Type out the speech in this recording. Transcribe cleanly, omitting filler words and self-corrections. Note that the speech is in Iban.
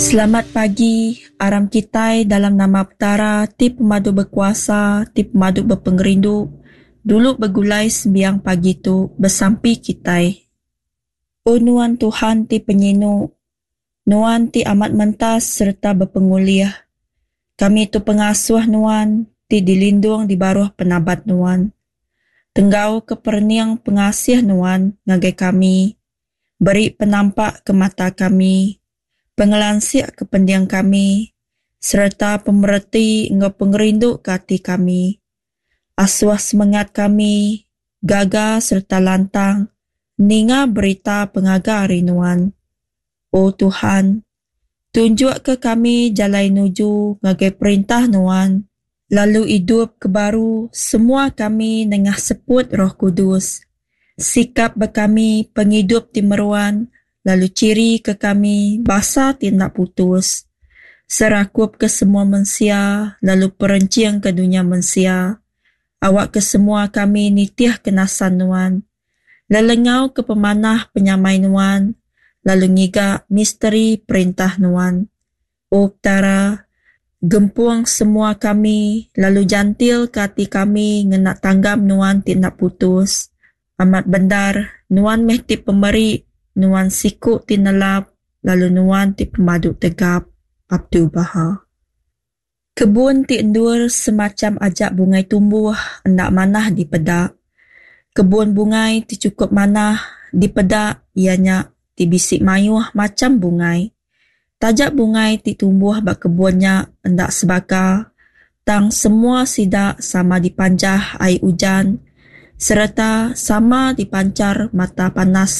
Selamat pagi, aram kitai dalam nama Petara ti pemadu bekuasa, ti pemadu bepengerindu, dulu begulai sembiang pagi tu besampi kitai. O nuan Tuhan ti penyinu, Nuan ti amat mentas sereta bepengulih. Kami tu pengasuh Nuan ti dilindung di baruh penabat Nuan. Tenggauka perening pengasih Nuan ngagai kami, beri penampak ke mata kami, pengelansik ke pending kami, sereta pemereti enggau pengerindu ke ati kami. Asuh semengat kami gaga sereta lantang ninga berita pengaga ari Nuan. O Tuhan, tunjukka kami jalai nuju ngagai Perintah Nuan, lalu idupka baru semua kami nengah seput Roh Kudus. Sikap ba kami pengidup ti meruan lalu chirika kami basa ti enda putus. Serakupka semua mensia lalu perenchingka dunya mensia. Awakka semua kami nitihka nasan Nuan. Lelengau ke pemanah penyamai Nuan, lalu ngiga misteri Perintah Nuan. O Petara, gempung semua kami lalu jantilka ati kami ngena tanggam Nuan ti enda putus. Amat bendar, Nuan meh ti pemeri, Nuan siku ti nelap, lalu Nuan ti pemadu tegap. Abdul-Baha. Kebun ti endur semacham aja bungai tumbuh enda manah dipeda. Kebun bungai ti chukup manah dipeda iya nya ti bisi mayuh macham bungai. Taja bungai ti tumbuh ba kebun nya enda sebaka tang semua sida sama dipanjah ai ujan sereta sama dipanchar mata panas.